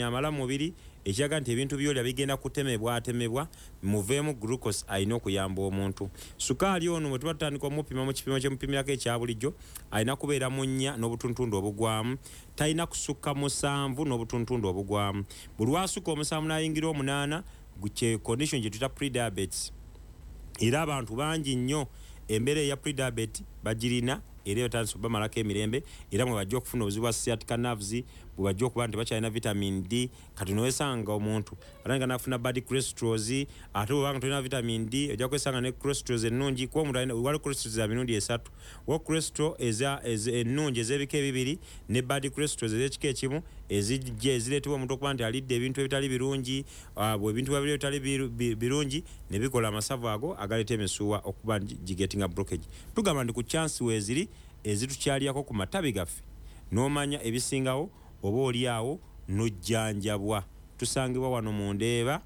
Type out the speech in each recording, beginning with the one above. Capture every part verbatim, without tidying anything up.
Amala mubiri, ekiraga nti ebintu byolya bigenda kutemebwatemebwa, muveemu glucose alina okuyamba omuntu. Sukaali ono bwe tuba tutandika omupima mu kipimo kyemupimirako ekya bulijjo, alina kubeera mu nnya n'obutuntundu obugwamu, talina kusukka musanvu n'obutuntundu obugwamu. Buli lwasukka omusanvu n'ayingira omunaana, kye condition gye tuyita prediabetes. Era abantu bangi nnyo embeera eya prediabetes bagirina, era etandise obamalako emirembe, era mwe bajja okufuna obuzibu bwa sciatica nerves, bwe bajja okuba nti bakyalina vitamin D. Kati nowesanga omuntu atandika nafuna bad cholesterols, ate bwobanga tolina vitamin D ojja kwesanga ne cholesterols ennungi, kuba omuntu waliwo cholesterols za mirundi esatu: wa cholesterol ennungi ez'ebika ebibiri ne bad cholesterols ez'ekika ekimu, ezijja ezireetebwa omuntu okuba nti alidde ebintu ebitali birungi. Bwe ebintu babiri ebitali birungi ne bikola amasavu ago agaleeta emisuwa okuba nti gigetinga blockage. Tugamba nti ku chance weeziri ezitukyalirako ku matabi gaffe, n'omanya ebisingawo, oba oli awo n'ojjanjabwa. Tusangibwa wano mu Ndeeba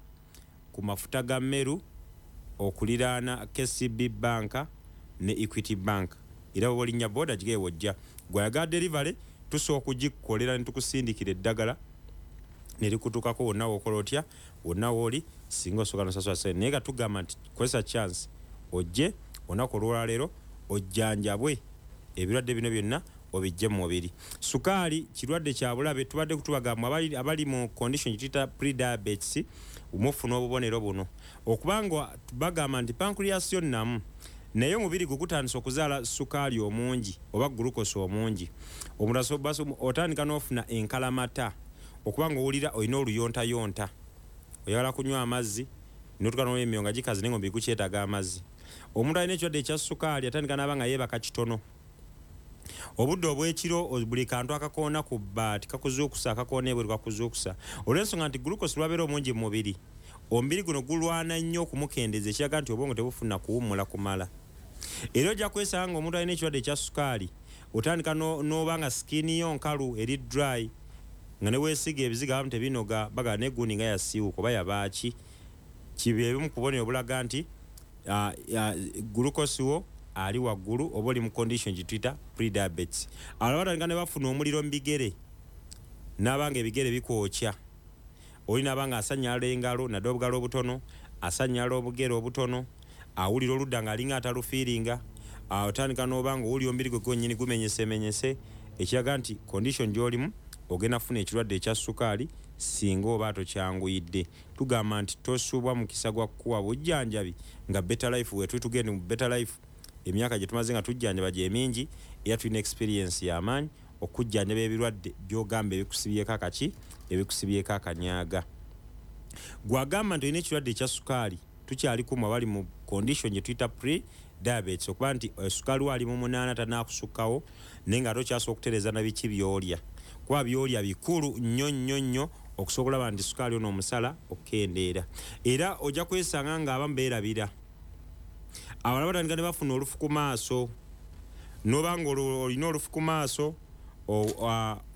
ku mafuta ga Meru, okuliraana K C B Bank ne Equity Bank, era bwe olinnya boda gigeye wojja. Gwayagala delivery, tusobola okugikolera ne tukusindikira eddagala ne likutuukako wonna w'okola otya, wonna w'oli, singa osooka nosasula sente. Naye nga tugamba nti kozesa chance ojje olunaku olwaleero ojjanjabwe ebirwadde bino byonna obijje mu mubiri. Sukaali kirwadde kya bulabe. Tubadde kutubagamba abali, abali mu condition gyetuyita prediabetes, mufuna obubonero buno okubanga bagamba nti pancreas yo nnamu, naye omubiri gwe gutandise okuzaala sukaali omungi oba glucose omungi. Omuntu otandika n'ofuna enkalamata, okuba nga owulira olina oluyontayonta, oyagala kunywa amazzi, notuka n'emyoyo nga gikaze, naye nga omubiri gukyetaaga amazzi. Omuntu alina ekirwadde ekya sukaali atandika n'aba nga yeebaka kitono obudde obwekiro, buli kantu akakoona ku bbaati kakuzuukusa, akakoona ebweru kakuzuukusa, olw'ensonga nti glucose lwabeera omungi mu mubiri, omubiri guno gulwana nnyo okumukendeeza, ekiraga nti obwongo tebufuna kuwummula kumala. Era ojja kwesanga nga omuntu alina ekirwadde ekya sukaali otandika n'oba nga skin yo nkalu, eri dry, nga ne weesiga ebizigo abamu tebinoga, baga negundi nga yasiiwuka oba yabaaki. Kibi ebimu ku bubonero obulaga nti glucose wo ali waggulu oba oli mu condition gye tuyita prediabetes. Abalala batandika ne bafuna omuliro mu bigere, n'aba nga ebigere bikwokya, oli n'aba nga asanyala engalo, naddala obugalo obutono, asanyala obugere obutono, awulira oludda ng'alinga atalufiiringa. Otandika n'oba nga owulira omubiri gwe gwennyini gumenyesemenyese, ekiraga nti condition gy'olimu ogenda kufuna ekirwadde ekya sukaali singa oba tokyanguyidde. Tugamba nti tosuubwa mukisa gwa kukuwa bujjanjabi nga Better Life wetuli. Tugende mu Better Life, emyaka gye tumaze nga tujjanjaba gye mingi, era tulina experience y'amaanyi okujjanjaba ebirwadde by'ogamba ebikusibyeko akaki, ebikusibyeko akanyaga. Gwagamba nti olina ekirwadde ekya sukaali, tukyali kumu abali mu condition gye tuyita pre diabetes, okuba nti sukaali waali mu munaana tanakusukkawo, naye nga ate okyasobola okutereeza na biki by'olya, kuba by'olya bikulu nnyo nnyo nnyo okusobola okulaba nti sukaali ono omusala okukendeera. Era ojja kwesanga nga abamu beerabira, abalala batandika ne bafuna olufu ku maaso, noba nga olina olufu ku maaso,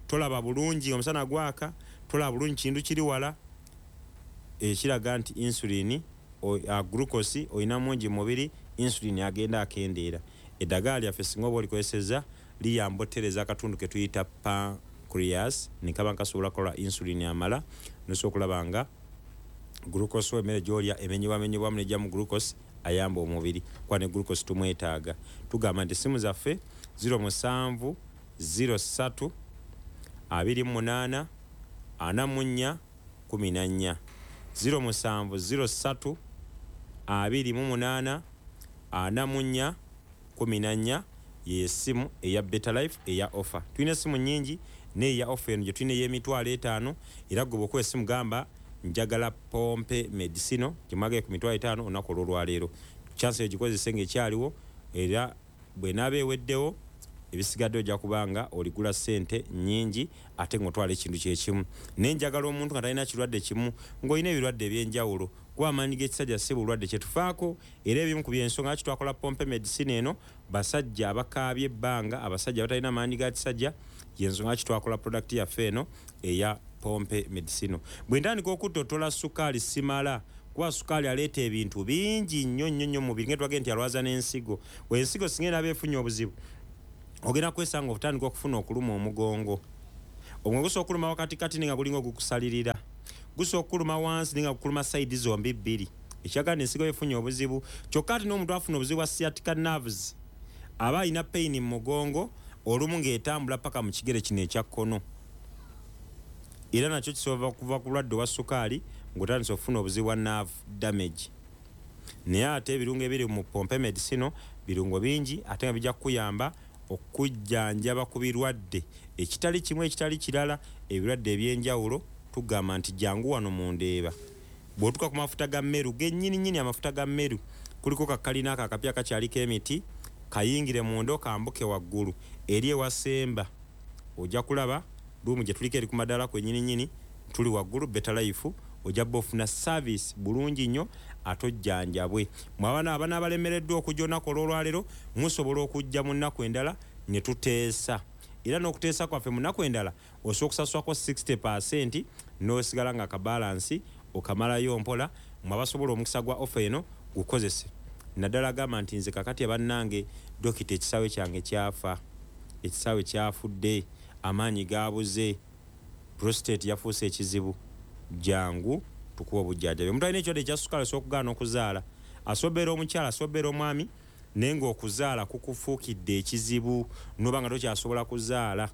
tolaba bulungi, omusana gwaka tolaba bulungi kintu kiri wala, ekiraga nti insulin, glucose olina mungi mu mubiri, insulin agenda akendeera. Eddagala lyaffe singa oba olikozesezza liyamba otereeza akatundu ke tuyita pancreas, nekaba nkasobola kukola insulin amala, nosobola okulaba nga glucose, emmere gyolya emenyebwamenyebwamu nejjamu glucose ayamba omubiri, kuba ne glucose tumwetaaga. Tugamba nti essimu zaffe zero musanvu zero ssatu abiri mu munaana ana mu nnya kumi na nnya, zero musanvu zero ssatu abiri mu munaana ana mu nnya kumi na nnya, yesimu eya Better Life eya offer. Tulina esimu nyingi, naye eya offer eno gye tulina ey'emitwalo etaano. Era gwe bwokuba esimu gamba njagala Pompe Medicinal gyemwagaye ku mitwalo etaano olunaku olwolwaleero, chance eyo gikozese ngaekyaliwo, era bwenaaba eweddewo ebisigadde ojja kubanga oligula ssente nnyingi ate ng'otwala ekintu kyekimu. Naye njagala omuntu nga talina kirwadde kimu, ng'olina ebirwadde ebyenjawulo, kuba amaanyi g'ekisajja si bulwadde kyetufaako. Era ebimu ku byensonga lwaki twakola Pompe Medicine eno, basajja abakaabye ebbanga, abasajja abatalina maanyi ga kisajja, yensonga lwaki twakola product yaffe eno eya Pompe Medicine. Bwe ntandika okuttotola sukaali simala, kuba sukaali aleeta ebintu bingi nnyo nnyo nnyo mu mubiri, nga twagenda nti alwaza n'ensigo. Ensigo singa enaaba efunye obuzibu, ogenda kwesanga otandika okufuna okuluma omugongo, Omwe gusobola okuluma wakatikati nga gulinga ogukusalirira, gusobola okuluma wansi nga gukuluma side zombi bbiri, ekiraga nti ensigo efunye obuzibu. Kyokka ate n'omuntu afuna obuzibu bwa sciatica nerves aba alina pain mu mugongo, olumu ng'etambula paka mu kigere kino ekya kkono, era nakyo kisobola kuva ku bulwadde obwa sukaali ng'otandise okufuna obuzibu bwa nerve damage. Naye ate ebirungo ebiri mu Pompe Medicinal birungo bingi ate nga bijja kukuyamba okujjanjaba ku birwadde ekitali kimu ekitali kirala, ebirwadde ebyenjawulo. Tugamba nti jangu wano mu Ndeeba. Bw'otuuka ku mafuta ga Meru gennyini nnyini, amafuta ga Meru kuliko kakalina ako akapya kakyaliko emiti, kayingire munda okambuke waggulu eri ewasemba, ojja kulaba room gye tuliko eri ku madaala kwennyini nnyini, tuli waggulu Better Life. Ojja bba ofuna service bulungi nnyo ate ojjanjabwe. Mwe abaana abaana abalemereddwa okujja olunaku olw'olwaleero, musobola okujja mu nnaku endala ne tuteesa, era n'okuteesa kwaffe mu nnaku endala osobola okusasulako sixty percent n'osigala nga akabalansi okamalayo mpola. Mwe abasobola omukisa gwa offer eno gukozese, naddala agamba nti nze kakati abannange dokita, ekisaawe kyange kyafa, ekisaawe kyafudde, amaanyi gabuze, prostate yafuuse ekizibu, jangu tukuwa obujjanjabi. Omuntu alina ekirwadde ekya sukaali osobola okugaana okuzaala, asobeera omukyala, asobeera omwami, naye ng'okuzaala kukufuukidde ekizibu noba nga tokyasobola kuzaala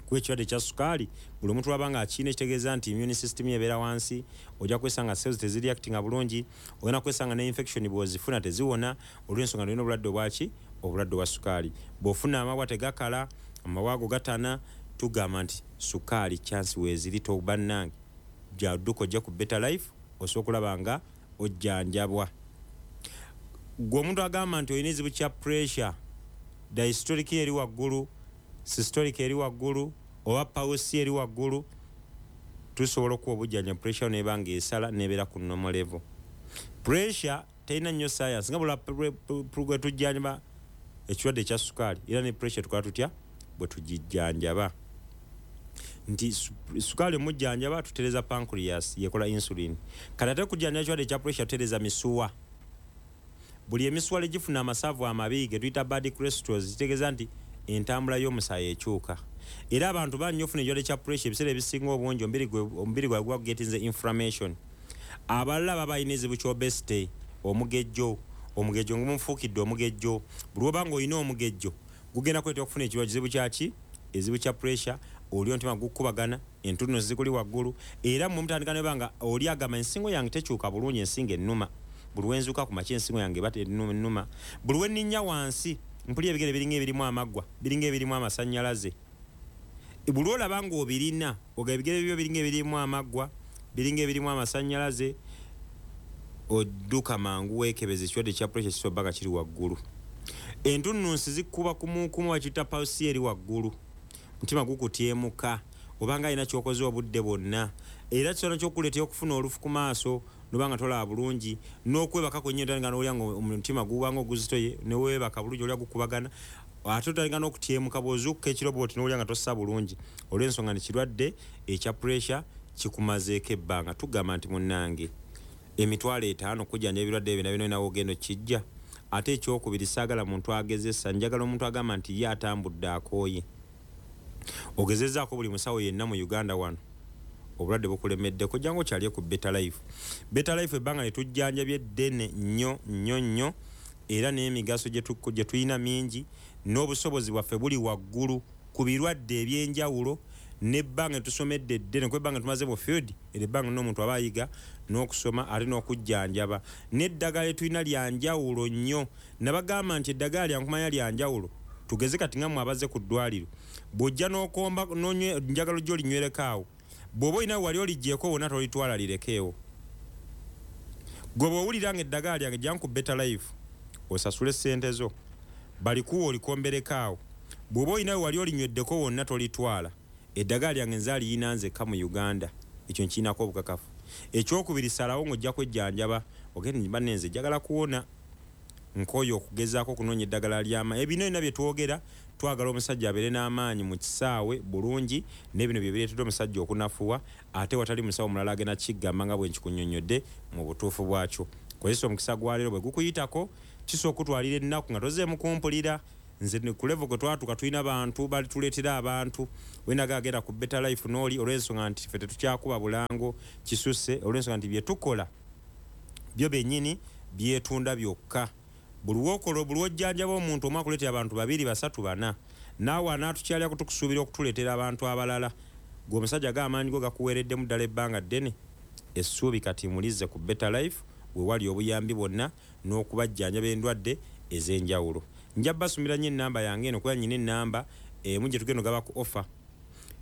kuba ekirwadde ekya sukaali. Buli omuntu lwaba nga akirina, ekitegeeza nti immune system ebeera wansi, ojja kwesanga cells tezireactinga bulungi, ogenda kwesanga ne infection bw'ozifuna teziwona olw'ensonga olina obulwadde obwaki, obulwadde obwa sukaali. Bw'ofuna amabwa tegakala, amabwa ago gatana, tugamba nti sukaali chance weeziri. Tobannange, jadduka ojja ku Better Life osobola okulaba nga ojjanjabwa. Gwe omuntu agamba nti olina ekizibu kya pressure, diastolic eri waggulu, systolic eri waggulu, oba pulse eri waggulu, tusobola okuwa obujjanjabi pressure neba nga esala nebeera ku normal level. Pressure terina nnyo science nga bula bwe tujjanjaba ekirwadde ekya sukaali, era ne pressure tukola tutya bwe tugijjanjaba nti sukaali omujjanjaba tutereza pancreas yekola insulin. Kati ate kujjanjaba ekirwadde ekya pressure tutereza misuwa. Buli emisuwa legifuna amasavu amabi ge tuyita bad cholesterol, kitegeeza nti entambula y'omusaayi ekyuka. Era abantu bangi ofuna ekirwadde kya pressure, ebiseera ebisinga obungi omubiri gwabwe guba gugetinze inflammation. Abalala baba balina ekizibu ky'obesity, omugejjo. Omugejjo ngumufuukidde omugejjo, buli woba nga olina omugejjo gugenda kuleetera okufuna ekirwadde kizibu kyaki, ekizibu kya pressure. Oli omutima gukubagana, entuno zikuli waggulu, era mwe mutandika neba nga oli agamba ensingo yange tekyuka bulungi, ensingo ennuma, buli wenzuuka ku makya ensingo yange eba ennuma, buli wenninnya wansi mpulira ebigere biringa ebirimu amaggwa, biringa ebirimu amasannyalaze. Buli olaba ng'obirina oga ebigere byo biringa ebirimu amaggwa, biringa ebirimu amasannyalaze, odduka mangu weekebeza ekirwadde kya pressure kisobola nga kiri waggulu. Entunnunsi zikkuba kumukumu, bakiyita pulse eri waggulu, mutima gukutyemuka obanga alina kyokoze obudde bwonna, era kisobola kyokuleetera okufuna olufu ku maaso noba nga tolaba bulungi, n'okwebaka kwennyini otandika n'olya nga omutima gubanga oguzitoye, neweebaka bulungi olya gukubagana, ate otandika n'okutyemuka bw'ozuukuka ekiro bwoti n'olya nga tossa bulungi olw'ensonga nti kirwadde ekya pressure kikumazeeko ebbanga. Tugamba nti munnange, emitwalo etaano kujjanja ebirwadde ebyo nabyo nawe ogenda okijja. Ate ekyokubiri, saagala muntu agezesa, njagala omuntu agamba nti ye atambudde akooye, ogezezaako buli musawo yenna mu Uganda wano, obulwadde bukulemeddeko, jangu okyalye ku Better Life. Better Life ebbanga ne tujjanjabye eddene nnyo nnyo nnyo, era n'emigaso gye tulina mingi n'obusobozi bwaffe buli waggulu ku birwadde ebyenjawulo, nebbanga tusomedde eddene kuba ebbanga tumaze mu field era ebbanga n'omuntu aba ayiga n'okusoma ate n'okujjanjaba, n'eddagala lyetulina lyanjawulo nnyo. Nabagamba nti eddagala lyankumanya lyanjawulo. Tugeze kati nga mmwe abazze ku ddwaliro, bw'ojja n'okomba njagala ojja olinywereko awo, bw'oba olina wali oligyeko wonna tolitwala, lirekeewo. Gwe bw'owulira nga eddagala lyange, jangu ku Better Life osasule sente zo balikuwa olikombereko awo. Bw'oba olina wali olinyweddeko wonna tolitwala. Eddagala lyange nze aliyina nzekka mu Uganda, ekyo nkirinako obukakafu. Ekyokubiri, salawo ng'ojja kwejjanjaba, ogende banne nze njagala kuwona, nkooye okugezaako okunoonya eddagala ly'amaanyi. Ebino byonna bye twogera, twagala omusajja abeere n'amaanyi mu kisaawe bulungi, n'ebino bye bireetedde omusajja okunafuwa, ate watali musawo mulala agenda kigamba nga bwe nkikunnyonnyodde mu butuufu bwakyo. Kozesa omukisa gwa leero, bwe gukuyitako kisobola okutwalira ennaku nga tozeemu kumpulira. Nze ku level gwe twatuuka tulina bantu balituleetera abantu wenaga agenda ku Better Life n'oli, olw'ensonga nti ffe tetukyakuba bulango kisusse, olw'ensonga nti bye tukola byo bennyini byetunda byokka. Buli wokola, buli wojjanjaba omuntu omu akuleetera abantu babiri, basatu, bana. Naawe anaatukyalira kutukusuubira okutuleetera abantu abalala. Gwe omusajja g'amaanyi go gakuweereddemu ddala ebbanga ddene, essuubi kati mulize ku Better Life, we wali obuyambi bwonna n'okubajjanjaba endwadde ez'enjawulo. Nja basumira nnyo ennamba yange eno, kuba nnyina ennamba emu gye tugenda ogaba ku offer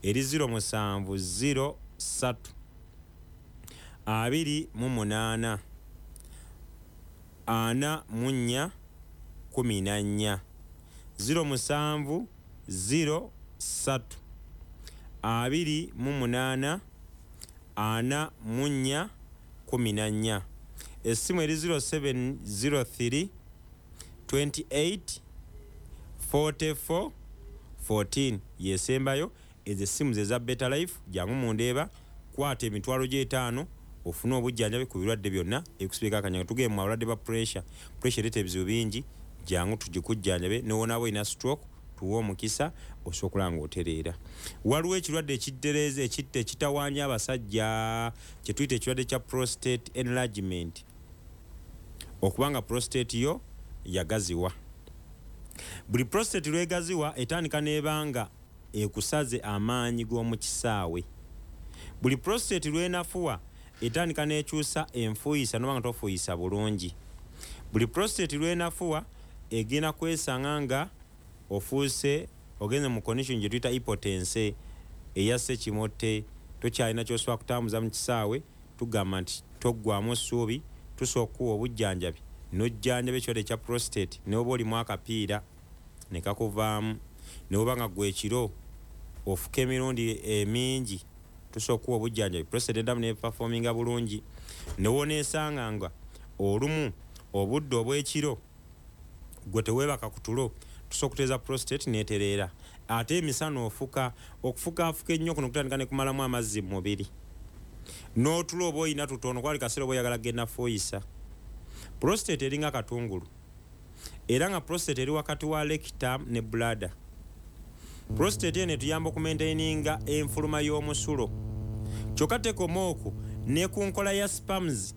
eri zero musanvu zero ssatu abiri mu munaana ana mu nnya kumi na nnya, zero musanvu zero ssatu abiri mu munaana ana mu nnya kumi na nnya. Essimu eri zero seven zero three twenty-eight forty-four fourteen yesembayo. Ezo essimu ze za Better Life. Jangu mundeeba, kwata emitwalo gy'etaano ofune obujjanjabi ku birwadde byonna ebikusibika akanyanga. Tugende mu abalwadde ba pressure, pressure ereeta ebizibu bingi, jangu tugikujjanjabe. N'owonaaba olina stroke, tuwe omukisa osobola okulaba ng'otereera. Waliwo ekirwadde ekiddereeza ekitta ekitawaanya abasajja kye tuyita ekirwadde kya prostate enlargement, okubanga prostate yo yagaziwa. Buli prostate lwegaziwa etandika n'ebanga ekusaze amaanyi g'omu kisaawe. Buli prostate lwenafuwa etandika n'ekyusa enfuuyisa n'oba nga tofuuyisa bulungi. Buli prostate lwenafuwa egenda kwesanga nga ofuuse ogenze mu condition gye tuyita impotence eya ssekimote, tokyalina ky'osobola kutambuza mu kisaawe. Tugamba nti toggwamu ssuubi, tusobola okukuwa obujjanjabi n'ojjanjaba ekirwadde kya prostate, ne bw'oba olimu akapiira ne kakuvaamu, ne bw'oba nga ggwe ekiro ofuka emirundi emingi, tusobola okuwa obujjanjabi prostate eddamu n'eperforminga bulungi. Ne w'oneesanga nga olumu obudde obw'ekiro gwe teweebaka ku tulo, tusobola okutereeza prostate n'etereera. Ate emisana ofuka, okufukaafuka ennyo kuno kutandika ne kumalamu amazzi mu mubiri, n'otulo oba oyina tutono, kwali kaseera oba oyagala kugenda fuuyisa. Prostate eringa katungulu, era nga prostate eri wakati wa rectum ne bladder. Prostate eno etuyamba okumaintaininga enfuluma y'omusulo, kyokka tekoma okwo, ne ku nkola ya sperms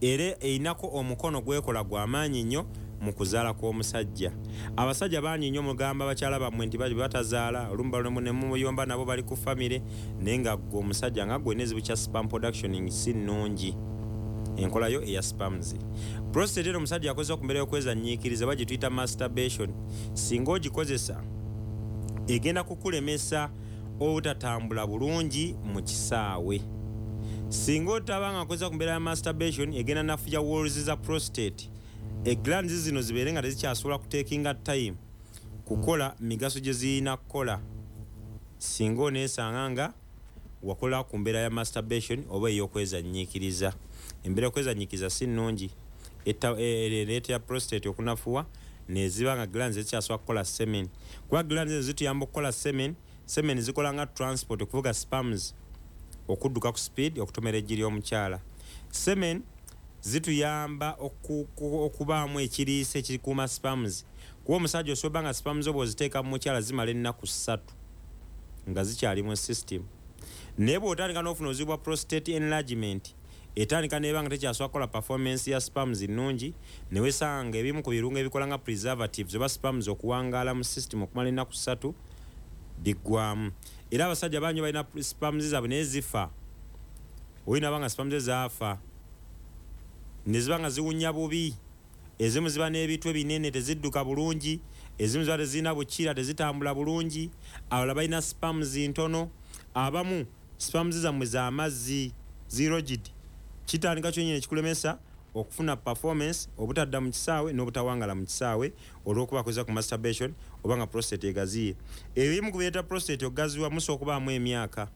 era erinako omukono gwekola gwa maanyi nnyo mu kuzaala kw'omusajja. Abasajja bangi nnyo mugamba bakyala bammwe nti bali batazaala, olumu ne muyomba nabo bali ku famire, naye nga ggwe omusajja nga ggwe n'ekizibu kya sperm production si nnungi, enkola yo eya sperms. Prostate eno omusajja akozesa ku mbeera y'okwezannyiikiriza oba gye tuyita masturbation. Singa ogikozesa egenda kukulemesa obutatambula bulungi mu kisaawe. Singa otaba nga akozesa ku mbeera ya masturbation, egenda nafuya walls za prostate, eglands zino zibeere nga tezikyasobola kutekinga time kukola migaso gye zirina kukola. Singa oneesanga nga wakola ku mbeera ya masturbation oba ey'okwezannyiikiriza, embeera y'okwezannyiikiriza si nnungi, ereetera prostate okunafuwa neziba nga glands ezikyasobola kukola semen, kuba glands ezo zituyamba okukola semen. Semen zikola nga transport okuvuga sperms okudduka ku speed okutomera eggi ly'omukyala. Semen zituyamba okubaamu ekiriisa ekikuuma sperms, kuba omusajja osobola nga sperms zo bw'oziteeka mu mukyala zimala ennaku ssatu nga zikyali mu system. Naye bw'otandika n'ofuna obuzibu bwa prostate enlargement, etandika n'eba nga tekyasobola kukola performance ya sperms nnungi, ne weesanga ebimu ku birungo ebikola nga preservatives oba sperms okuwangaala mu system okumala ennaku ssatu biggwamu. Era abasajja bangi balina sperms zaabwe naye zifa, olina aba nga sperms ze zaafa ne ziba nga ziwunya bubi, ezimu ziba n'ebitwe binene tezidduka bulungi, ezimu ziba tezirina bukira tezitambula bulungi, abalala balina sperms ntono, abamu sperms zammwe z'amazzi zirogid. Kitandika kyonnyini ekikulemesa okufuna performance, obutadda mu kisaawe n'obutawangala mu kisaawe olw'okuba akozesa ku masturbation oba nga prostate egaziye. Ebimu ku bireeta prostate okugaziwa musobola okubaamu emyaka,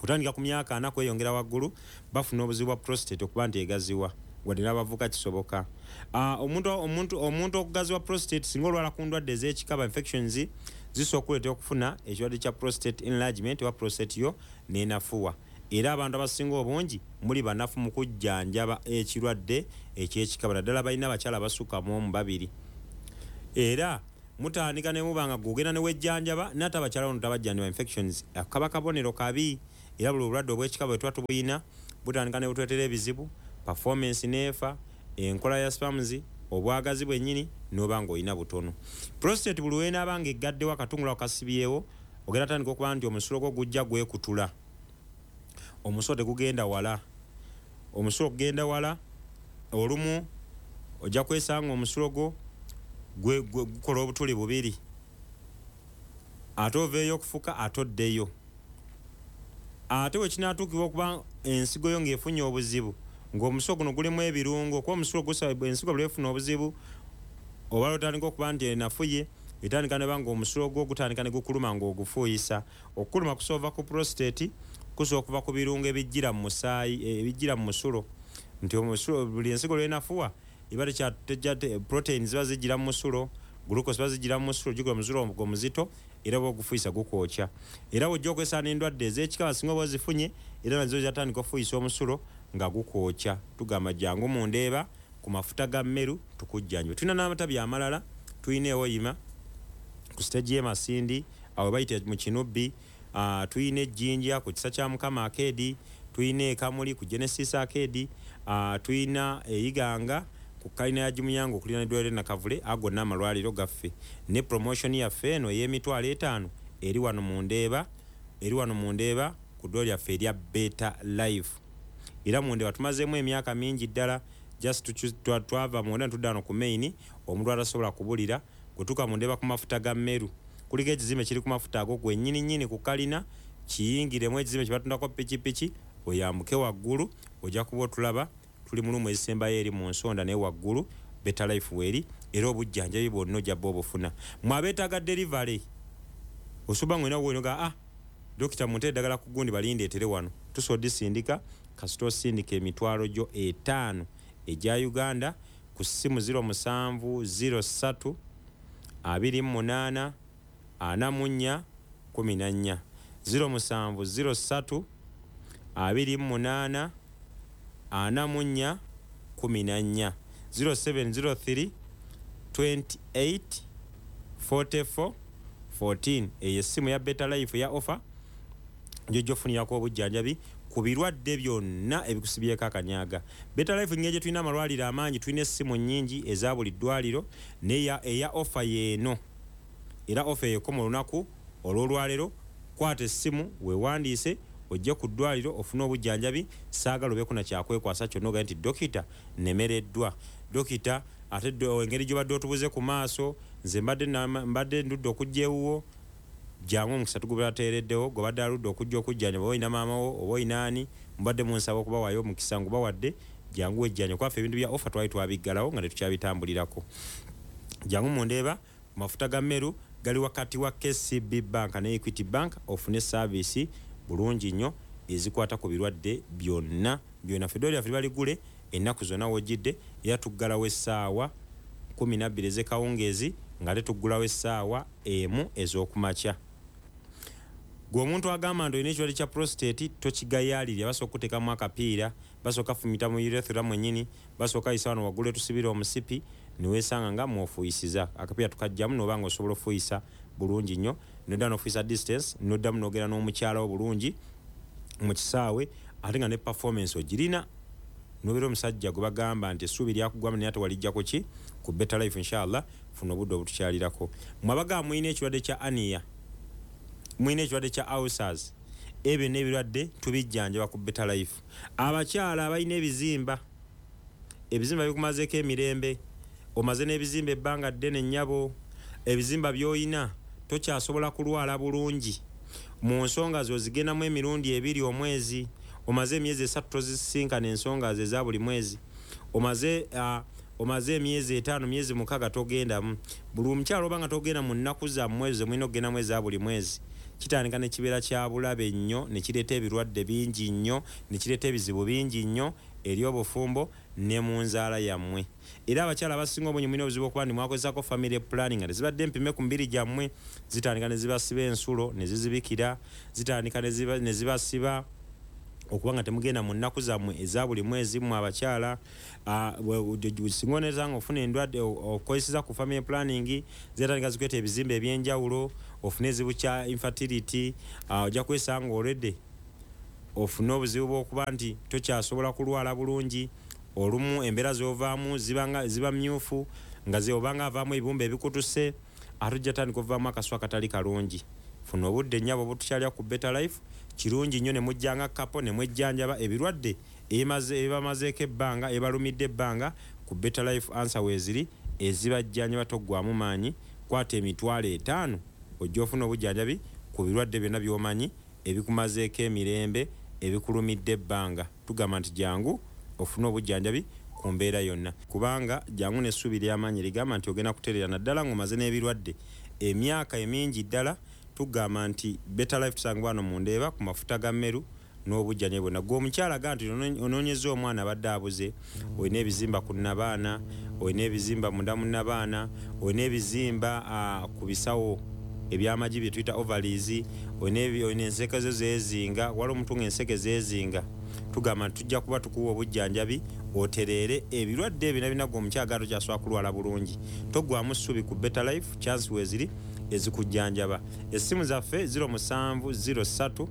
otandika ku myaka ana kweyongera waggulu bafuna obuzibu bwa prostate okuba nti egaziwa, wadde n'abavubuka kisoboka. Omuntu, omuntu, omuntu okugaziwa prostate singa olwala ku ndwadde ez'ekikaba infections zisobola okuleetera okufuna ekirwadde kya prostate enlargement oba prostate yo n'enafuwa. Era abantu abasinga obungi muli banafu mu kujjanjaba ekirwadde eky'ekikaba, naddala balina abakyala abasukka mu omu babiri. Era Mutandika ne muba nga gugenda ne wejjanjaba, n'ate abakyala bano tabajjanjaba infections. Kaba kabonero kabi, era buli obulwadde obw'ekika bwe tuba tubuyina butandika ne butuleetera ebizibu, performance n'efa, enkola ya sperms, obwagazi bwennyini n'oba ng'olina butono. Prostate buli lw'enaaba ng'eggaddewo akatungulu ako kasibyewo, ogenda tandika okuba nti omusulo gwo gujja gwekutula. Omusulo tegugenda wala. Omusulo gugenda wala, olumu ojja kwesanga omusulo gwo gukola obutuli bubiri. Ate oveeyo okufuka, ate oddeyo. Ate bwe kinaatuukibwa okuba ensigo yo ng'efunye obuzibu, ng'omusulo guno gulimu ebirungo, kuba omusulo gusaba ensigo bwe efuna obuzibu, oba otandika okuba nti enafuye, etandika ne ba ng'omusulo gwo gutandika ne gukuluma ng'ogufuuyisa. Okukuluma kusoova ku prostate, kusobola okuva ku birungo ebijjira mu musaayi, ebijjira mu musulo. Nti omusulo buli ensigo lw'enafuwa, eba tekya protein ziba zijjira mu musulo, glucose ziba zijjira mu musulo, gikola omusulo omuzito, era bw'ogufuuyisa gukwokya. Era bw'ojja okwesanga n'endwadde ez'ekika abasinga oba ozifunye, era nazo zatandika okufuuyisa omusulo nga gukwokya. Tugamba jangu mu Ndeeba ku mafuta ga Meru tukujjanjabe. Tulina n'amatabi amalala, tulina ewoyima ku stage y'e Masindi, awo bayita mu Kinubbi, uh, tulina ejjinja ku Kisa kya Mukama Arcade, tulina ekamuli ku Genesis Arcade, uh, tulina eyiganga ku kalina ya Jimuyango okuliraana eddwaliro Nakavule. Ago gonna amalwaliro gaffe. Ne promotion yaffe eno ey'emitwalo etaano eri wano mu Ndeeba, eri wano mu Ndeeba ku ddwaliro lyaffe erya Better Life. Era mu Ndeeba tumazeemu emyaka mingi ddala, just twava munda ne tudda wano ku main, omuntu atasobola kubulira. Bwe mu Ndeeba ku mafuta ga Meru, kuliko ekizimbe kiri ku mafuta ago gwennyini nnyini ku kalina, kiyingiremu ekizimbe kye batundako pikipiki, oyambuke waggulu, ojja kuba otulaba. Tuli mu room ezisembayo eri mu nsonda, naye waggulu Better Life weeri, era obujjanjabi bwonna ojja bba obufuna. Mwe abeetaaga delivery, osobola ng'olina wonoga, ah, dokita, munte eddagala ku gundi balindeetere wano, tusobola odisindika kasita osindika emitwalo gyo etaano egya Uganda ku ssimu zero musanvu zero ssatu abiri mu munaana ana mu nnya kumi na nnya, zero musanvu zero ssatu abiri mu munaana ana mu nnya kumi na nnya, zero seven zero three twenty-eight forty-four fourteen. Eyo essimu ya Better Life ya offer gyojja ofunirako obujjanjabi ku birwadde byonna ebikusibyeko akanyaga. Better Life ngeri gye tulina amalwaliro amangi, tulina essimu nnyingi eza buli ddwaliro, naye eya offer yeeno, era offer eyo ekoma olunaku olw'olwaleero. Kwata essimu weewandiise, ojje ku ddwaliro ofune obujjanjabi. Saagala obeeko na kyakwekwasa kyonna ogaye nti dokita nemereddwa, dokita ate engeri gy'obadde otubuze ku maaso, nze mbadde mbadde ndudde okujja ewuwo. Jangu, omukisa tugubateereddewo. Gwebadde aludde okujja okujjanjaba, oba olina maama wo oba olina ani, mubadde munsaba okubawaayo omukisa, ngubawadde. Jangu wejjanja, kwaffe ebintu bya offer twali twabiggalawo nga tetukyabitambulirako. Jangu mundeeba mafuta ga Meru, gali wakati wa K C B Bank ne Equity Bank, ofune service bulungi nnyo ezikwata ku birwadde byonna byonna. Ffe eddwaliro lyaffe liba ligule ennaku zonna wojjidde, era tuggalawo essaawa kumi nabbiri ez'ekawungeezi, nga tetuggulawo essaawa emu ez'okumakya. Gwe omuntu agamba nti olina ekirwadde kya prostate, tokigayaalirya. Basooka okuteekamu akapiira, basooka fumita mu urethra mwennyini, basooka yisa wano waggulu etusibira omusipi, niweesanga nga mwofuuyisiza. Akapiira tukajjamu, noba nga osobola ofuuyisa bulungi nnyo, nodda nofuuyisa distance, noddamu nogenda n'omukyala wo bulungi mu kisaawe, ate nga ne performance ogirina, nobeera omusajja gwe bagamba nti essuubi lyakugwamu, naye ate walijja kuki ku Better Life. Inshallah, funa obudde obutukyalirako. Mwe abagamba mulina ekirwadde kya hernia, mulina ekirwadde kya ulcers, ebyo n'ebirwadde tubijjanjaba ku Better Life. Abakyala abalina ebizimba, ebizimba bikumazeeko emirembe, omaze n'ebizimba ebbanga ddene nnyabo, ebizimba by'olina tokyasobola kulwala bulungi mu nsonga zo, zigendamu emirundi ebiri omwezi, omaze emyezi esatu tozisinkana ensonga ze eza buli mwezi, omaze uh, omaze emyezi etaano, myezi mukaaga togendamu. Buli omukyala oba nga togenda mu nnaku zammwe ezo zemulina okugendamu eza buli mwezi, kitandika ne kibeera kya bulabe nnyo, ne kireeta ebirwadde bingi nnyo, ne kireeta ebizibu bingi nnyo eri obufumbo ne mu nzaala yammwe. Era abakyala abasinga obungi mulina obuzibu okuba nti mwakozesako family planning nga tezibadde mpime ku mibiri gyammwe, zitandika ne zibasiba ensulo ne zizibikira, zitandika ne zibasiba Okuba nga temugenda mu nnaku zammwe eza buli mwezi mmwe abakyala, singa oneeza nga ofuna endwadde okozeseza ku family planning, zitandika zikuleeta ebizimbe ebyenjawulo, ofune ezibu kya infertility, ojja kwesanga already ofune obuzibu bw'okuba nti tokyasobola kulwala bulungi. Olumu embeera z'ovaamu ziba ziba myufu, nga obanga avaamu ebibumba ebikutuse, ate ojja tandika ovaamu akaswa akatali kalungi. Funa obudde nnyabo obutukyalya ku Better Life, kirungi nnyo ne mujjanga kapo ne mwejjanjaba ebirwadde ebibamazeeko ebbanga, ebibalumidde ebbanga. Ku Better Life answer weeziri ezibajjanjaba, toggwamu maanyi. Kwata emitwalo etaano ojja ofuna obujjanjabi ku birwadde byonna by'omanyi ebikumazeeko emirembe, ebikulumidde ebbanga. Tugamba nti jangu ofune obujjanjabi ku mbeera yonna, kubanga jangu n'essuubi ly'amaanyi ligamba nti ogenda kutereera, naddala ng'omaze n'ebirwadde emyaka emingi ddala. Tugamba nti Better Life tusangibwa wano mu Ndeeba ku mafuta ga Mmeru n'obujjanjabi bwonna. Gwe omukyala ga nti onoonyeza omwana abadde abuze, olina ebizimba ku nnabaana, olina ebizimba munda mu nnabaana, olina ebizimba ku bisawo ebyamagi bye tuyita ovaries, olina enseke zo zeezinga, waliwo omuntu ng'enseke zeezinga. Tugamba nti tujja kuba tukuwa obujjanjabi otereere ebirwadde ebyo byonna. Gwe omukyala ga tokyasobola kulwala bulungi, toggwamu ssuubi. Ku Better Life chance weeziri ezikujjanjaba. Essimu zaffe ziro musanvu ziro ssatu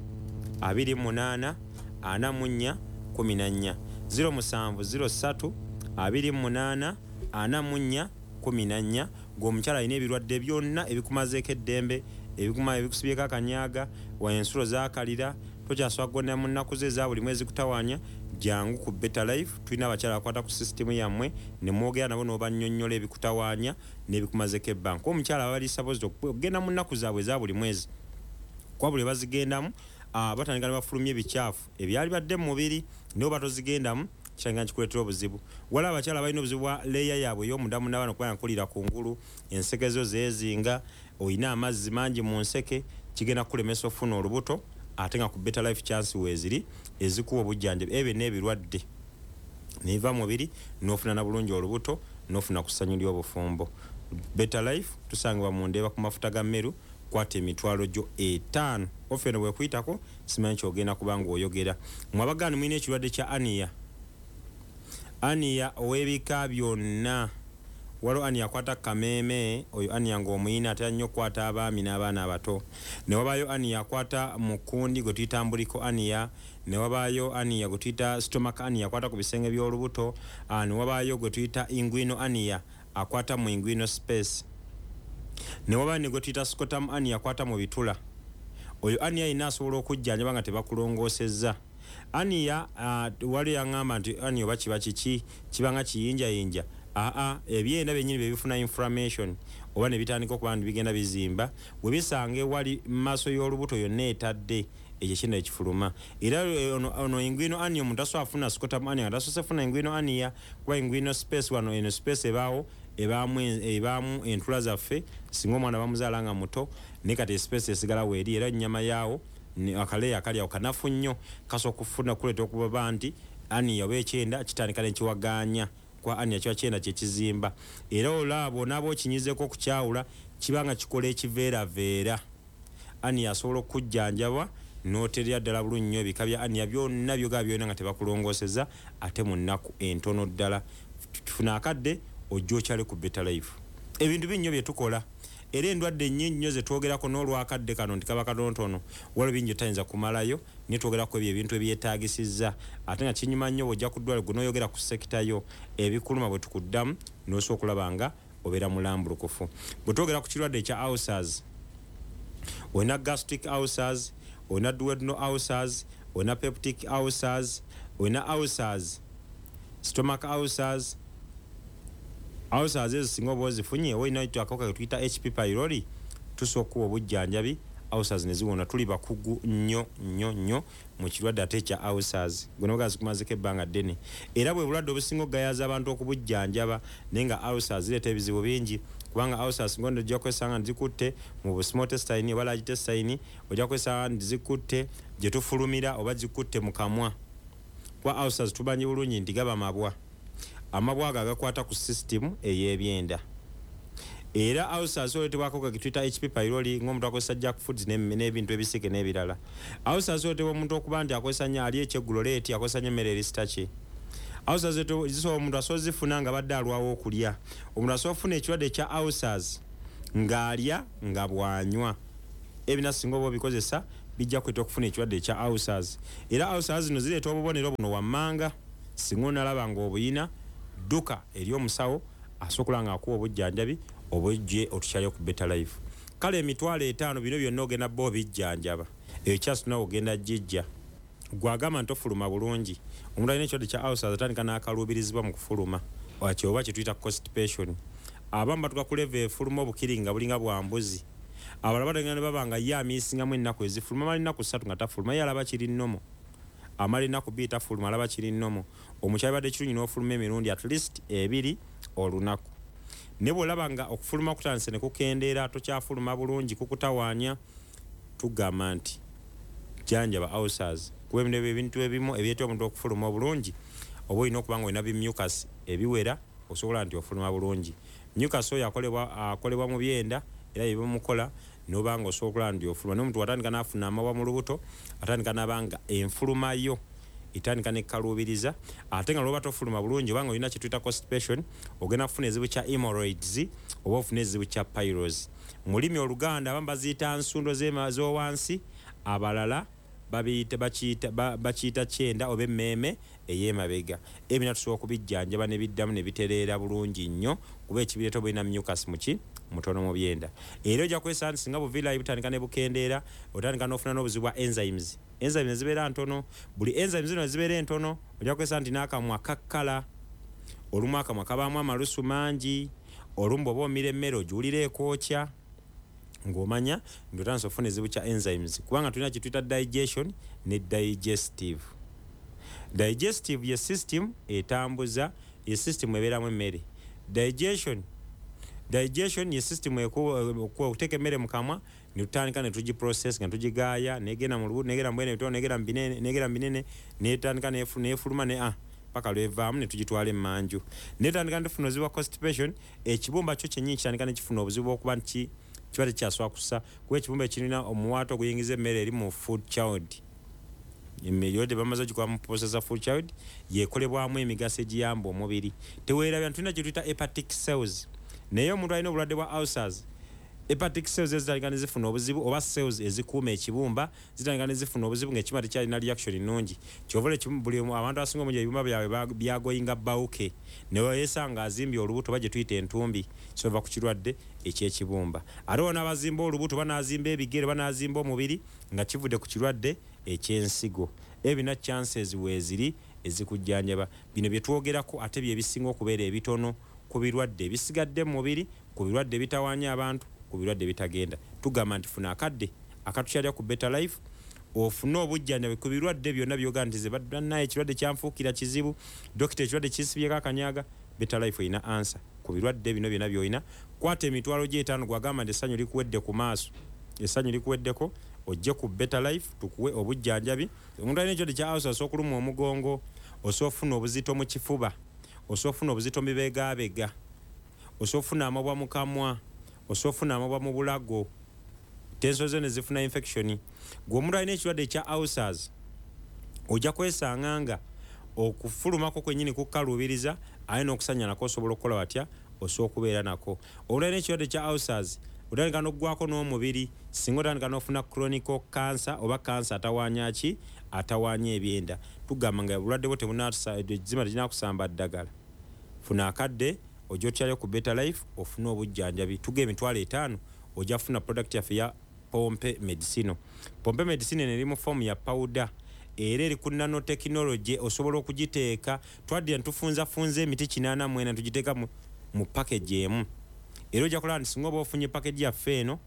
abiri munaana ana mu nnya kumi na nnya, ziro musanvu ziro ssatu abiri munaana ana mu nnya kumi na nnya. Gwe omukyala alina ebirwadde byonna ebikumazeeko eddembe, ebikuma ebikusibyeko akanyaga, ensulo zaakalira, tokyasobola kugonera mu nnaku ze eza buli mwezi kutawaanya, jangu ku Better Life. Tulina abakyala abakwata ku sisitimu yammwe ne mwogera nabo n'obannyonnyola ebikutawaanya n'ebikumazeeko ebbanga. Kuba omukyala abali supposed okugenda mu nnaku zaabwe eza buli mwezi, kuba buli bazigendamu batandika ne bafulumya ebikyafu ebyali badde mu mubiri, naye oba tozigendamu kitandika nkikuleetera obuzibu. Waliwo abakyala balina obuzibu bwa leeya yaabwe ey'omunda mu nnabaana okuba nkulira kungulu, enseke zo zeezinga, olina amazzi mangi mu nseke, kigenda kukulemesa okufuna olubuto. Ate nga ku Better Life chance weeziri ezikuwa obujjanjabi ebyo n'ebirwadde neiva mubiri n'ofuna na bulungi olubuto n'ofuna ku ssanyu ly'obufumbo. Better Life tusangibwa mu Ndeeba ku mafuta ga Mmeru. Kwata emitwalo gyo etaano, ofe eno bwekuyitako simanyi kyogenda kuba ng'oyogera. Mwe abagaani mulina ekirwadde kya aniya, aniya ow'ebika byonna. Waliwo aniya akwata kameeme, oyo aniya ng'omuyina atera nnyo okukwata abaami n'abaana abato. Ne wabaayo aniya akwata mu kkundi gwe tuyita mbuliko aniya, ne wabaayo aniya gwe tuyita stomach aniya akwata ku bisenge by'olubuto, ne wabaayo gwe tuyita inguinal aniya akwata mu inguinal space, ne wabaayo ne gwe tuyita scrotum aniya akwata mu bitula. Oyo aniya yenna asobola okujjanjaba nga tebakulongoosezza. Aniya waliwo yaŋŋamba nti aniya oba kiba kiki, kiba nga kiyinjayinja. Aa, ebyenda byennyini bye bifuna inflammation oba ne bitandika okuba nti bigenda bizimba, bwe bisanga ewali maaso y'olubuto yonna etadde, ekyo kyenda ekifuluma. Era ono, ono inguinal aniya omuntu asobola afuna scrotum aniya nga tasoose funa inguinal aniya, kuba inguinal space wano, eno space ebaawo ebaamu ebaamu entula zaffe singa omwana bamuzaala nga muto, naye kati espace esigala weeri, era ennyama yaawo akaleeya akali awo kanafu nnyo, kasobola okufuna kuleeta okubaba nti aniya oba ekyenda kitandika nekiwagaanya, kwa aniya kiba kyenda kyekizimba. Era olaba onaaba okinyizeeko okukyawula, kiba nga kikola ekiveeraveera. Aniya asobola okujjanjabwa n'oterera ddala bulungi nnyo ebika bya aniya byonna byogaba byonna nga tebakulongoosezza, ate mu nnaku entono ddala. Tufuna akadde ojja okyale ku Better Life. Ebintu bingi nnyo bye tukola, era endwadde nnyingi nnyo ze twogerako n'olwakadde kano nti kaba katonotono, waliwo bingi otayinza kumalayo, naye twogerako ebyo ebintu ebyetaagisizza. Ate nga kinyuma nnyo bw'ojja ku ddwaliro gwe n'oyogera ku sekita yo ebikuluma, bwe tukuddamu n'osobola okulaba nga obeera mulambulukufu. Bwe twogera ku kirwadde ekya ulcers, olina gastric ulcers, olina duodenal ulcers, olina peptic ulcers, olina ulcers, stomach ulcers. Ulcers ezo singa oba ozifunye oba olina akawuka ke tuyita H P pylori, tusobola okuwa obujjanjabi ulcers ne ziwona. Tuli bakugu nnyo nnyo nnyo mu kirwadde ate ekya ulcers, gwe noga zikumazeko ebbanga ddene, era bwe bulwadde obusinga okugayaza abantu okubujjanjaba. Naye nga ulcers zireeta ebizibu bingi, kubanga ulcers ngondo ojja kwesanga nti zikutte mu small intestine oba large intestine, ojja kwesanga nti zikutte gye tufulumira oba zikutte mu kamwa. Kuba ulcers tumanyi bulungi nti gaba mabwa, amabwa ago agakwata ku system ey'ebyenda. Era ulcers oleetebwako ka kituyita H P pylori, ng'omuntu akozesa junk foods n'ebintu ebisike n'ebirala. Ulcers oleetebwa omuntu okuba nti akozesa nnyo, alya ekyeggulo leeti, akozesa nnyo emmere eri starchy. Ulcers zisobola omuntu asobola zifuna nga badde alwawo okulya. Omuntu asobola okufuna ekirwadde ekya ulcers ng'alya nga bw'anywa. Ebina singa oba obikozesa bijja kuleeta okufuna ekirwadde ekya ulcers. Era ulcers zino zireeta obubonero buno wammanga. Singa onalaba ng'obuyina, dduka eri omusawo asobola ng'akuwa obujjanjabi obujje otukyalye ku Better Life. Kale emitwalo etaano bino byonna ogenda bo obijjanjaba. Eyo kyasi nawe ogenda gijja. Gw'agamba nti ofuluma bulungi. Omuntu alina ekirwadde kya ulcers atandika n'akaluubirizibwa mu kufuluma. Wakyo oba kye tuyita constipation. Abamu batuuka ku level efuluma obukiri nga bulinga bwa mbuzi. Abalala batandika ne baba nga ye amiisingamu ennaku ezifuluma, amala ennaku ssatu nga tafuluma, ye alaba kiri nnomo. Amala ennaku bbiri tafuluma, alaba kiri nnomo. Omukyala badde kirungi n'ofuluma emirundi at least ebiri olunaku. Ne bw'olaba nga okufuluma kutandise ne kukendeera, tokyafuluma bulungi, kukutawaanya, tugamba nti jjanjaba ulcers. Kuba ebintu ebyo ebintu ebimu ebireeta omuntu okufuluma obulungi, oba olina okuba nga olina bi mucus ebiwera osobola nti ofuluma bulungi. Mucus oyo akolebwa, akolebwa mu byenda era bye bimukola n'oba nga osobola nti ofuluma. N'omuntu watandika n'afuna amabwa mu lubuto, atandika n'aba nga enfuluma yo etandika n'ekkaluubiriza. Ate nga lw'oba tofuluma bulungi oba nga olina kye tuyita constipation, ogenda kufuna ekizibu kya hemorrhoids oba ofuna ekizibu kya piles. Mu lulimi Oluganda abamu baziyita nsundo z'owansi, abalala babiyita, bakiyita, ba-, bakiyita kyenda oba emmeeme ey'emabega. Ebyo tusobola okubijjanjaba ne biddamu ne bitereera bulungi nnyo, kuba ekibireeta oba olina mucus muki mutono mu byenda. Era ojja kwesanga nti singa buviirayo butandika ne bukendeera, otandika n'ofuna n'obuzibu bwa enzymes. Enzymes zibeera ntono, buli enzymes zino zibeera entono, ojja kwesanga nti n'akamwa kakkala, olumu akamwa kabaamu amalusu mangi, olumu bw'oba omira emmere ogiwulira ekwokya, ng'omanya nti otandise okufuna ekizibu kya enzymes. Kubanga tulina kye tuyita digestion ne digestive. Digestive ye system etambuza, ye system ebeeramu emmere. Digestion, digestion ye system okuteeka emmere mu kamwa ne tutandika ne tugiprocess nga tugigaaya, negenda mu lubuto, negenda mu bwene bitono, negenda mu binene, negenda mu binene, netandika nefu-, nefuluma ne, ah, paka lwevaamu ne tugitwala emmanju. Netandika ne tufuna obuzibu bwa constipation, ekibumba kyo kyennyini kitandika ne kifuna obuzibu bw'okuba nti kiba tekyasooka kussa, kuba ekibumba ekirina omuwaatwa oguyingiza emmere eri mu food child. Emmere yo tebamaze ogikuba mu processor food child, yekolebwamu emigaso egiyamba omubiri. Teweerabira nti tulina kye tuyita hepatic cells. Naye omuntu alina obulwadde bwa ulcers, hepatic cells ezitandika ne zifuna obuzibu, oba cells ezikuuma ekibumba zitandika ne zifuna obuzibu ng'ekibumba tekyalina reaction nnungi. Ky'ova olaba ekimu, buli omu, abantu abasinga obungi ebibumba byabwe ba-, byagoyinga bawuke, ne weesanga azimbye olubuto oba gye tuyita entumbi, kyova ku kirwadde eky'ekibumba. Ate wano abazimba olubuto banaazimba ebigere, banaazimba omubiri nga kivudde ku kirwadde eky'ensigo. Ebyo bina chances weeziri ezikujjanjaba. Bino bye twogerako ate bye bisinga okubeera ebitono ku birwadde ebisigadde mu mubiri, ku birwadde ebitawaanya abantu, ku birwadde ebitagenda. Tugamba nti funa akadde akatukyalira ku Better Life, ofune obujjanjabi ku birwadde byonna by'ogamba nti ze bannaye ekirwadde kyanfuukira kizibu, dokita ekirwadde kinsibyeko akanyaga. Better Life erina answer ku birwadde bino byonna by'olina. Kwata emitwalo gy'etaano gw'agamba nti essanyu likuwedde ku maaso, essanyu likuweddeko, ojje ku Better Life tukuwe obujjanjabi. Omuntu alina ekirwadde kya ulcer osobola okulumwa omugongo, osobola okufuna obuzito mu kifuba, osobola okufuna obuzito mu bibegaabega, osobola okufuna amabwa mu kamwa, osobola okufuna amabwa mu bulago, tenso zo ne zifuna infection. Gwe omuntu alina ekirwadde ekya ulcers ojja kwesanga nga okufulumako kwennyini kukaluubiriza, aye n'okusanya nako osobola okukola watya, osobola okubeera nako. Omuntu alina ekirwadde kya ulcers otandika n'oggwako n'omubiri, singa otandika n'ofuna chronic cancer oba cancer atawaanya ki, atawaanya ebyenda. Tugamba nga obulwadde bwo tebunaatusa, ezzima terinakusamba ddagala. Funa akadde ojja otyalyo ku Better Life ofune obujjanjabi. Tuga emitwalo etaano ojja kufuna product yaffe ya Pompe Medicine. Pompe Medicine eno eri mu form ya powder, era eri ku nanotechnology, osobola okugiteeka. Twaddira ne tufunzafunza emiti kinaana mu ena ne tugiteeka mu, mu package emu. Era ojja kulaba nti singa oba ofunye package yaffe eno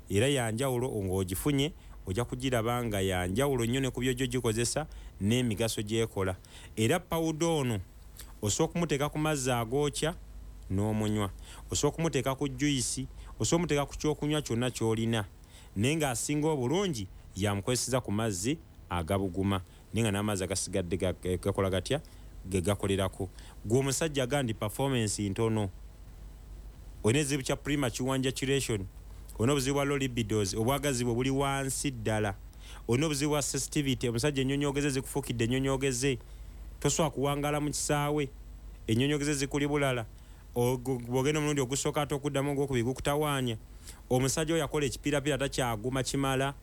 era ya njawulo ng'ogifunye, ojja kugiraba nga ya njawulo nnyo ne ku by'ojja ogikozesa n'emigaso gy'ekola. Era powder ono osobola okumuteeka ku mazzi agookya n'omunywa, osobola okumuteeka ku juice, osobola okumuteeka ku kyokunywa kyonna ky'olina, naye ng'asinga obulungi yamukozeseza ku mazzi agabuguma, naye nga n'amazzi agasigadde ga-, gakola gatya, ge gakolerako. Gwe omusajja agamba nti performance ntono, Olina ekizibu kya premature ejaculation, olina obuzibu bwa low libidos, obwagazi bwe buli wansi ddala, olina obuzibu bwa sensitivity, omusajja ennyonyoogeze zikufuukidde ennyonyoogeze, tosobola kuwangaala mu kisaawe, ennyonyoogeze zikuli bulala, bw'ogenda omulundi ogusooka ate okuddamu ogwokubiri gukutawaanya. Omusajja oyo akola ekipiirapiira takyaguma kimala,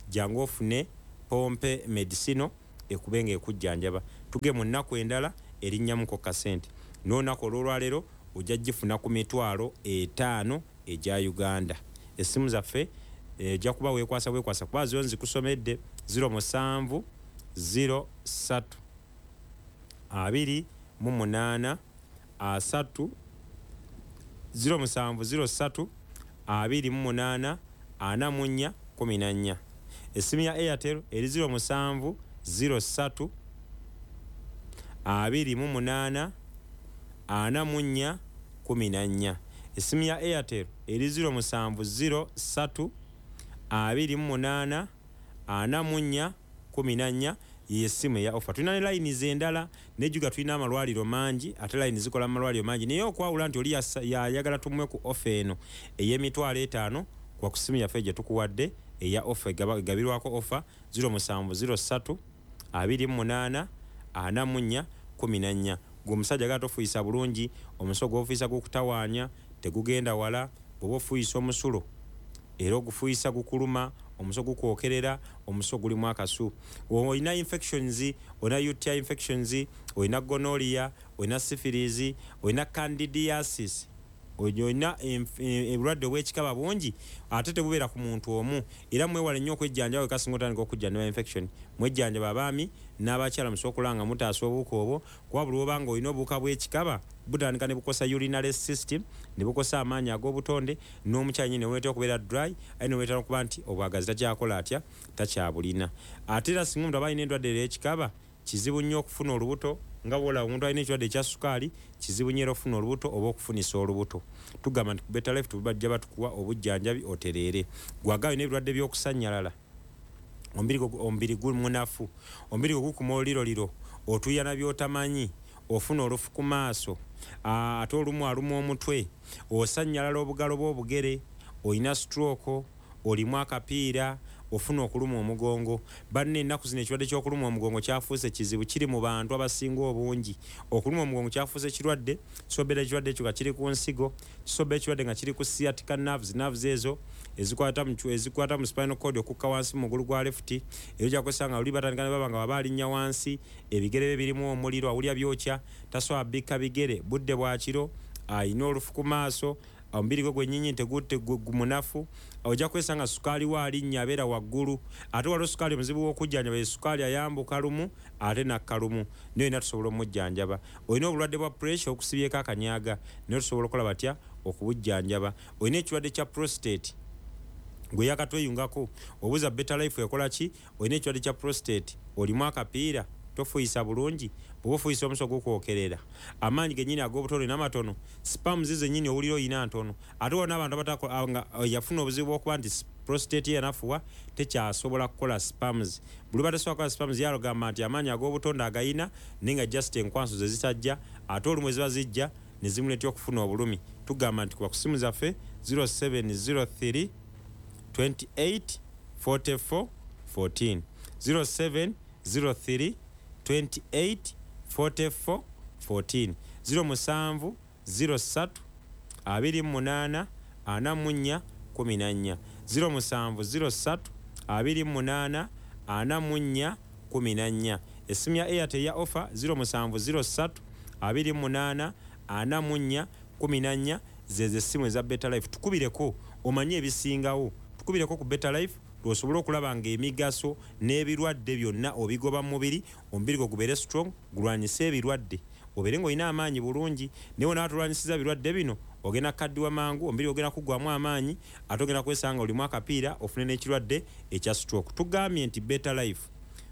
jangu ofune pompe medicino ekube ng'ekujjanjaba. Tuge mu nnaku endala erinnyamuko kasente, n'olunaku olw'olwaleero ojja gifuna ku mitwalo etaano egya Uganda. Essimu zaffe ojja kuba weekwasa bwekwasa kuba zo nzikusomedde ziro musanvu ziro ssatu abiri mu munaana asatu ziro musanvu ziro ssatu abiri mu munaana ana mu nnya kkumi na nnya. Essimu ya Airtel eri ziro musanvu ziro ssatu abiri mu munaana ana mu nnya kkumi na nnya. Essimu ya Airtel eri ziro musanvu ziro ssatu abiri mu munaana ana mu nnya kkumi na nnya ye essimu eya offer. Tulina ne layini endala nejjuga, tulina amalwaliro mangi ate layini zikola mu malwaliro mangi, naye okwawula nti oli yayagala tumuwe ku offer eno ey'emitwalo etaano kwa ku ssimu yaffe gye tukuwadde eya offer egabirwako offer ziro musanvu ziro ssatu abiri mu munaana ana mu nnya kkumi na nnya. Gwe omusajja agala tofuuyisa bulungi, omuso gw'ofuuyisa gukutawaanya tegugenda wala, bw'oba ofuuyisa omusulo era ogufuuyisa gukuluma, omuso gukwokerera, omuso gulimu akasu. Olina infections, olina U T I infections, olina gonorrhea, olina syphilis, olina candidiasis, olina obulwadde obw'ekikaba bungi ate tebubeera ku muntu omu. Era mwewale nnyo okwejjanjaba wekasinga otandika okujjanjaba infection. Mwejjanjaba abaami n'abakyala musobola okulaba nga mutaasa obuwuka obwo, kuba buli lw'oba nga olina obuwuka bw'ekikaba butandika ne bukosa urinary system, ne bukosa amaanyi ag'obutonde, n'omukyala nnyini ne buleetera okubeera dry, aye ne buleetera okuba nti obwagazi takyakola atya, takyabulina. Ate era singa omuntu aba alina endwadde ey'ekikaba, kizibu nnyo okufuna olubuto, nga bw'olaba omuntu alina ekirwadde ekya sukaali, kizibu nnyo era okufuna olubuto oba okufunisa olubuto. Tugamba nti ku Better Life tubajja batukuwa obujjanjabi otereere. Gw'agaba olina ebirwadde by'okusannyalala, omubiri gumunafu, omubiri gwo gukuma oluliroliro, otuuyana by'otamanyi, ofuna olufu ku maaso, ate olumu aluma omutwe, osannyalala obugalo bw'obugere, olina stroke, olimu akapiira, ofuna okuluma omugongo. Banne ennaku zino ekirwadde ky'okuluma omugongo kyafuuse kizibu, kiri mu bantu abasinga obungi. Okuluma omugongo kyafuuse kirwadde, kisobeera ekirwadde ekyo nga kiri ku nsigo, kisobeera ekirwadde nga kiri ku sciatica nerves, nerves ezo ezikwata mu ezikwata mu spinal cord okukka wansi mu mugulu gwa left. Era ojja kwesanga luli batandika ne baba nga baba alinnya wansi, ebigere bye birimu omuliro, awulira byokya, tasobola bikka bigere, budde bwa kiro, alina olufu ku maaso, omubiri gwe gwennyini tegutte gumunafu. Ojja kwesanga sukaali we alinnya abeera waggulu, ate waliwo sukaali omuzibu w'okujjanjaba, ye sukaali ayambuka lumu ate nakka lumu, naye olina tusobola omujjanjaba. Olina obulwadde bwa pressure okusibyeko akanyaga, naye tusobola okukola batya okubujjanjaba. Olina ekirwadde kya prostate, gwe yakatweyungako obuuza Better Life ekola ki? Olina ekirwadde kya prostate, olimu akapiira, tofuuyisa bulungi, bw'oba ofuuyisa omuso gukwokerera, amaanyi gennyini ag'obutonde n'amatono, sperms zennyini owulira oyina ntono. Ate waliwo n'abantu abatakola nga yafuna obuzibu bw'okuba nti prostate ye yanafuwa, tekyasobola kukola sperms. Buli batasobola kukola sperms yalogamba nti amaanyi ag'obutonde agayina naye nga just enkwanso ze zitajja, ate olumu eziba zijja ne zimuleetera okufuna obulumi. Tugamba nti kuba ku ssimu zaffe ziro seven ziro three twenty eight forty four fourteen, ziro seven ziro three twenty eight forty four fourteen, ziro musanvu ziro ssatu abiri mu munaana ana mu nnya kkumi na nnya, ziro musanvu ziro ssatu abiri mu munaana ana mu nnya kkumi na nnya. Essimu ya Airtel ya offer ziro musanvu ziro ssatu abiri mu munaana ana mu nnya kkumi na nnya, ze ze ssimu eza Better Life. Tukubireko omanye ebisingawo, tukubireko ku Better Life lw'osobola okulaba ng'emigaso n'ebirwadde byonna obigoba mu mubiri, omubiri gwo gubeere strong, gulwanyise ebirwadde, obeere ng'olina amaanyi bulungi. Naye bw'onaaba tolwanyisizza birwadde bino, ogenda kukaddiwa mangu, omubiri ogenda kuggwamu amaanyi, ate ogenda kwesanga olimu akapiira ofune n'ekirwadde ekya stroke. Tugambye nti Better Life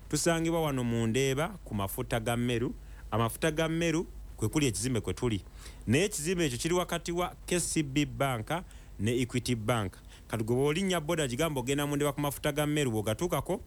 tusangibwa wano mu Ndeeba ku mafuta ga Meru. Amafuta ga Meru kwe kuli ekizimbe kwe tuli, naye ekizimbe ekyo kiri wakati wa K C B Bank ne Equity Bank. Kati gwe bw'olinnya boda gigamba ogenda mu Ndeeba ku mafuta ga Meru, bw'ogatuukako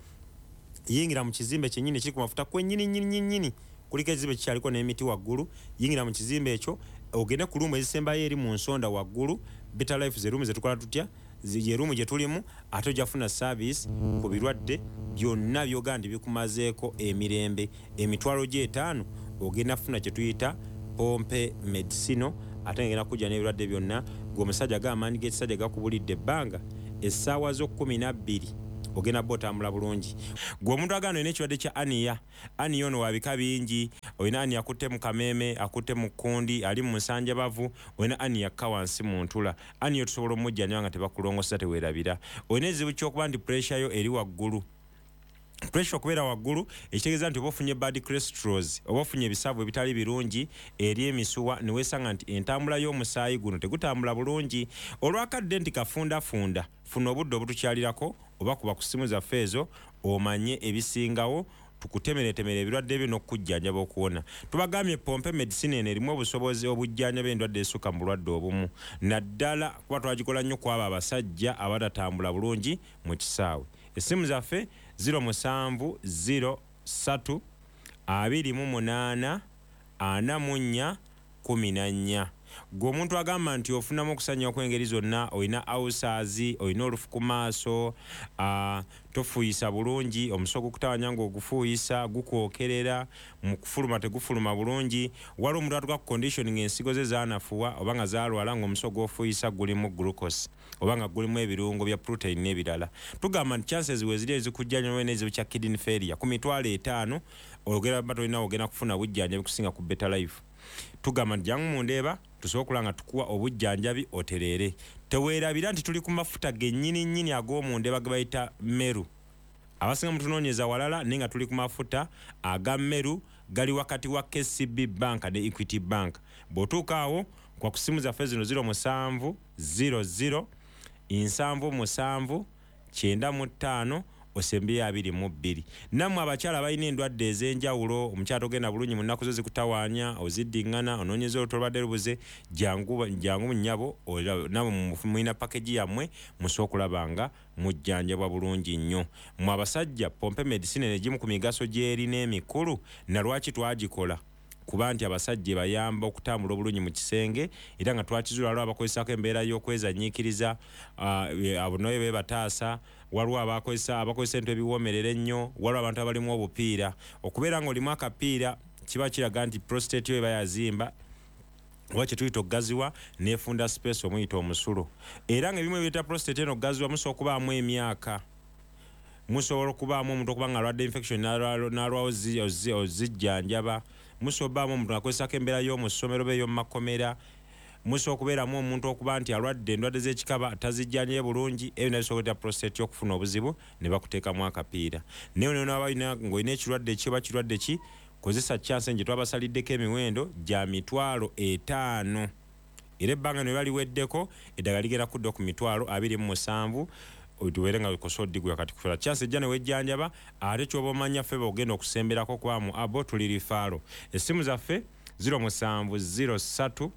yingira mu kizimbe kyennyini ekiri ku mafuta kwennyini nnyini nnyini, kuliko ekizimbe kikyaliko n'emiti waggulu. Yingira mu kizimbe ekyo, Ogende ku room ezisembayo eri mu nsonda waggulu. Better Life ze room zetukola tutya, ye room gye tulimu, ate ojja kufuna service ku birwadde byonna by'ogamba nti bikumazeeko emirembe. Emitwalo gy'etaano ogenda kufuna kye tuyita pompe medicino, ate ngenda kujja n'ebirwadde byonna. Gwe omusajja ga amaanyi g'ekisajja gakubulidde ebbanga, essaawa zo kkumi na bbiri ogenda bba otambula bulungi. Gwe omuntu agamba olina ekirwadde kya aniya, aniya ono wa bika bingi. Olina aniya akutte mu kameeme, akutte mu kkundi, ali mu nsanjabavu, olina aniya akka wansi mu ntula. Aniya tusobola omujjanjaba nga tebakulongoosa, teweerabira. Olina ekizibu ky'okuba nti pressure yo eri waggulu. Pressure okubeera waggulu ekitegeeza nti oba ofunye bad cholesterols, oba ofunye ebisavu ebitali birungi eri emisuwa, ne weesanga nti entambula y'omusaayi guno tegutambula bulungi. Olwakadde nti kafundafunda, funa obudde obutukyalirako oba kuba ku ssimu zaffe ezo omanye ebisingawo, tukutemeretemere ebirwadde byo n'okukujjanjaba okuwona. Tubagambye pompe medicine eno erimu obusobozi obujjanjaba endwadde esukka mu bulwadde obumu, naddala kuba twagikola nnyo ku abo abasajja abatatambula bulungi mu kisaawe. Essimu zaffe ziro musanvu ziro ssatu abiri mu munaana ana mu nnya kkumi na nnya. Gwe omuntu agamba nti ofunamu okusanya okw'engeri zonna, olina ulcers, olina olufu ku maaso, tofuuyisa bulungi, omuso gukutawanya ng'ogufuuyisa gukwokerera, mu kufuluma tegufuluma bulungi. Waliwo omuntu atuuka ku condition ng'ensigo ze zaanafuwa oba nga zaalwala, ng'omuso gw'ofuuyisa gulimu glucose oba nga gulimu ebirungo bya protein n'ebirala. Tugamba nti chances we ziri ezikujjanjaba n'ekizibu kya kidney failure ku mitwalo etaano ogera ba tolina ogenda kufuna bujjanjabi kusinga ku Better Life. Tugamba nti jangu mu Ndeeba tusobola okulaba nga tukuwa obujjanjabi otereere. Teweerabira nti tuli ku mafuta gennyini nnyini ag'omu Ndeeba ge bayita Meru. Abasinga mutunoonyeza walala, naye nga tuli ku mafuta aga Meru, gali wakati wa K C B Bank ne Equity Bank. Bw'otuuka awo kwa ku ssimu zaffe zino ziro musanvu ziro ziro nsanvu musanvu kyenda mu ttaano osembyeyo abiri mu bbiri. Nammwe abakyala balina endwadde ez'enjawulo, omukyala togenda bulungi mu nnaku zo zikutawaanya, oziddiŋŋana, onoonyeza oluto olubadde lubuze, jangu, jangu nnyabo, nammwe mulina package yammwe, musobola okulaba nga mujjanjabwa bulungi nnyo. Mmwe abasajja, pompe medicine n'egimu ku migaso gy'erina emikulu, na lwaki twagikola? Kuba nti abasajja bayamba okutambula obulungi mu kisenge, era nga twakizuula waliwo abakozesaako embeera y'okwezanyiikiriza, abo nayo beebataasa, waliwo abakozesa, abakozesa ebintu ebiwoomerera ennyo, waliwo abantu abalimu obupiira. Okubeera ng'olimu akapiira kiba kiraga nti prostate yo eba yazimba, oba kye tuyita okugaziwa, n'efunda space omuyita omusulo. Era ng'ebimu ebireeta prostate eno okugaziwa musobola okubaamu emyaka, musobola okubaamu omuntu okuba ng'alwadde infection n'alwawo ozijjanjaba, musobola okubaamu omuntu ng'akozesako embeera y'omu ssomero oba ey'omu makomera, musobola okubeeramu omuntu okuba nti alwadde endwadde z'ekikaba tazijjanjabe bulungi, ebyo nabyo bisobola okuleeta prostate okufuna obuzibu ne bakuteekamu akapiira. Naye n'oba ng'olina ekirwadde ki oba kirwadde ki, kozesa chance gye twabasaliddeko emiwendo gya mitwalo etaano. Era ebbanga ne baliweddeko, eddagala ligenda kudda ku mitwalo abiri mu musanvu, tubeere nga okosa oddigula kati kufera. Chance ejja ne wejjanjaba, ate ky'oba omanya ffe bw'ogenda okusemberako kuba mu abo tuli rifaalo. Essimu zaffe ziro musanvu ziro ssatu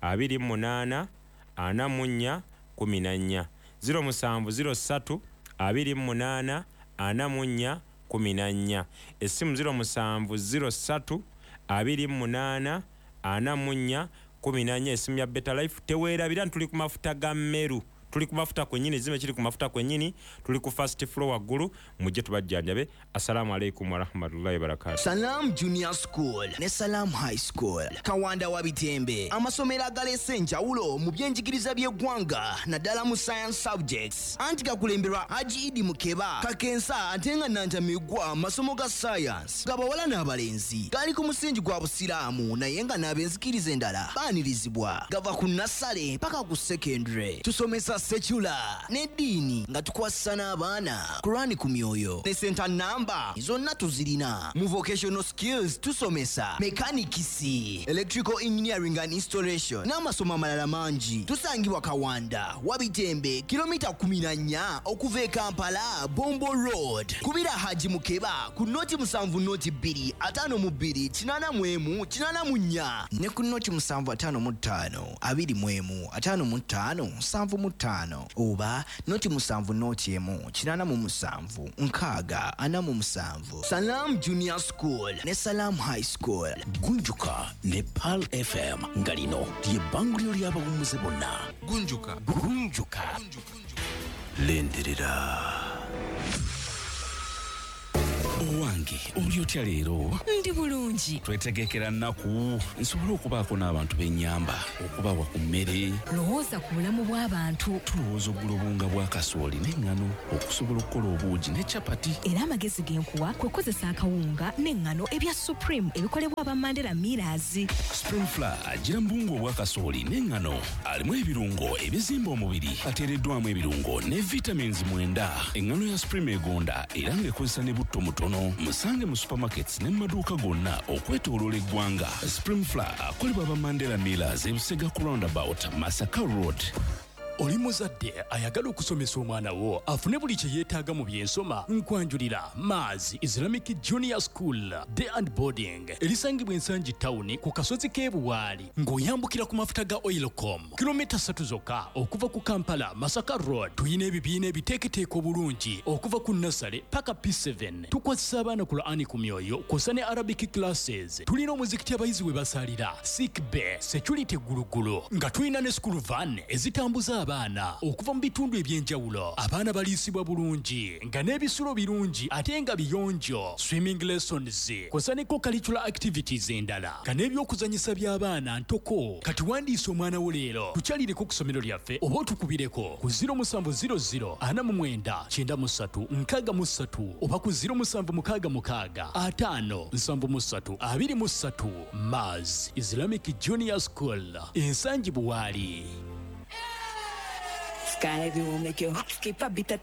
abiri mu munaana ana mu nnya kkumi na nnya. Ziro musanvu ziro ssatu abiri mu munaana ana mu nnya kkumi na nnya. Essimu ziro musanvu ziro ssatu abiri mu munaana ana mu nnya kkumi na nnya, essimu ya Better Life. Teweerabira nti tuli ku mafuta ga Meru, tuli ku mafuta kwennyini, ekizimbe kiri ku mafuta kwennyini, tuli ku first floor waggulu, mujje tubajjanjabe. Assalamu alaikum warahmatullahi wabarakatuh. Salam Junior School ne Salam High School, Kawanda wa Bitembe, amasomero agaleese enjawulo mu byenjigiriza by'eggwanga naddala mu science subjects. Anti gakulemberwa Haji Idi Mukeba Kakensa, ate nga Nantamigwa amasomo ga science g'abawala n'abalenzi gali ku musingi gwa Busiraamu, naye nga n'ab'enzikiriza endala baanirizibwa. Gava ku nnassale paka ku secondary. Tusomesa secular n'eddiini nga tukwasisa n'abaana Kurani ku myoyo ne center namba zonna tuzirina. Mu vocational skills tusomesa mechanics, electrical engineering and installation n'amasomo amalala mangi. Tusangibwa Kawanda Wabitembe, kilomita kumi na nnya okuva e Kampala, Bombo Road. Kubira Haji Mukeba ku noti musanvu noti bbiri ataano mu bbiri kinaana mu emu kinaana mu nnya ne ku noti musanvu ataano mu ttaano abiri mu emu ataano mu ttaano nsanvu mu ttaano. ttaano oba noti musanvu noti emu kinaana mu musanvu nkaaga ana mu musanvu. Salam Junior School ne Salam High School. Gunjuka ne Pearl F M nga lino ly'ebbanguliro ly'abawummuze bonna. Gunjuka. Gunjuka. Lindirira. Owange, oli otya leero? Ndi bulungi. Twetegekera nnaku nsobole okubaako n'abantu b'ennyamba, okubawa ku mmere. Lowooza ku bulamu bw'abantu. Tulowooza okugula obuwunga bwa kasooli n'eŋŋano okusobola okukola obuugi ne capati. Era amagezi ge nkuwa kwe kukozesa akawunga n'eŋŋano ebya Supreme ebikolebwa aba Mandela Millers. Supreme Flour agira mu buwunga obwa kasooli n'eŋŋano, alimu ebirungo ebizimba omubiri, ateereddwamu ebirungo ne vitamins mwenda. Eŋŋano ya Supreme egonda era ng'ekozesa ne butto mutono. Musange mu supermarkets ne mu maduuka gonna okwetooloola eggwanga. Supreme Flour akolebwa aba Mandela Millers e Busega ku roundabout Masaka Road. Oli muzadde ayagala okusomesa omwana wo afune buli kye yeetaaga mu byensoma, nkwanjulira Maz Islamic Junior School Day and Boarding erisangibwa Ensangi Town ku kasozi k'e Buwaali ng'oyambukira ku mafuta ga Oilcom kilomita ssatu zokka okuva ku Kampala Masaka Road. Tuyina ebibiina ebiteeketeeka obulungi okuva ku nursery paka P seven. Tukwasisa abaana Qur'ani ku myoyo kw'ossa ne Arabic classes. Tulina omuzikiti abayizi we basalira, sick bay, security gulugulu, nga tulina ne school van ezitambuza abaana okuva mu bitundu eby'enjawulo. Abaana baliisibwa bulungi nga n'ebisulo birungi ate nga biyonjo. Swimming lessons kw'ossa ne co-curricular activities endala nga n'ebyokuzannyisa by'abaana ntoko. Kati wandiisa omwana wo leero, tukyalireko ku ssomero lyaffe oba otukubireko ku zero musanvu zero zero ana mu mwenda kyenda mu ssatu nkaaga mu ssatu oba ku zero musanvu mukaaga mukaaga ataano nsanvu mu ssatu abiri mu ssatu. Maz Islamic Junior School, Ensangi Buwaali. Sky will make your heart skip a beat at